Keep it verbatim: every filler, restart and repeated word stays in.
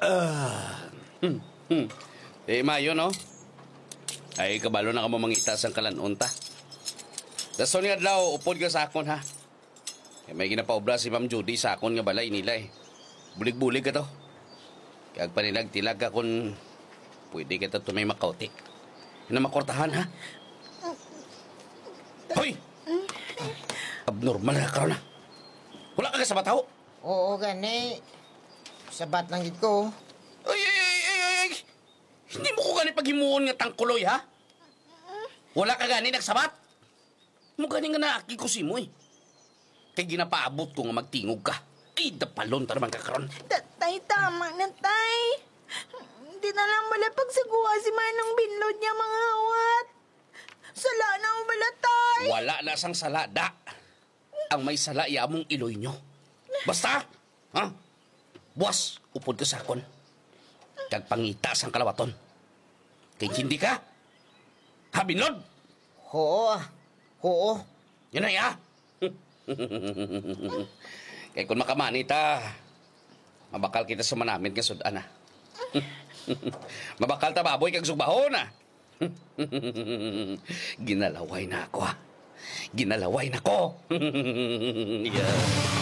Ah. Hmm, hmm. Eh, mayo, no? Ay, kabalo na ka mo mangita sang kalan-on ta. Sa sunod nga adlaw, upod ka sa akon, ha? Kay may ginapaobra si Ma'am Judy sa akon nga balay nila, eh. Bulig-bulig ka to. Kag panilag-tilag ka kung pwede ka to may makauti. Na makortahan, ha? Hoy! Abnormal ka karon, ha? Wala ka kasabat, ho? Oo, gani. Sabat lang gid ko. Ay, ay, ay, ay, ay, ay. Hindi mo ko gani paghimuon nga tangkuloy, ha? Wala ka gani nagsabat? Mo gani nga naakig ko simo, eh. Kay ginapaabot ko nga magtingog ka. Ay, dapalon ta naman ka karon. Ta-, tay, tama na, tay. Di na lang bala pagsaguha si Manong Binlod niya mga awat. Sala na mo bala, tay. Wala na sang sala, da. Ang may sala iya among iloy nyo. Basta, ha? Buwas, upod ka sa akon. Kag pangita sang kalawaton. Kay hindi ka? Ha, Binlod? Oo, ah. Oo. Yan na, ya. Kay kung makamani ta, mabakal kita sa manamit nga sud-an, ah. Mabakal ta baboy kag sugbahon, ah. Ginalaway na ako, ah. Ginalaway na ko. Yeah.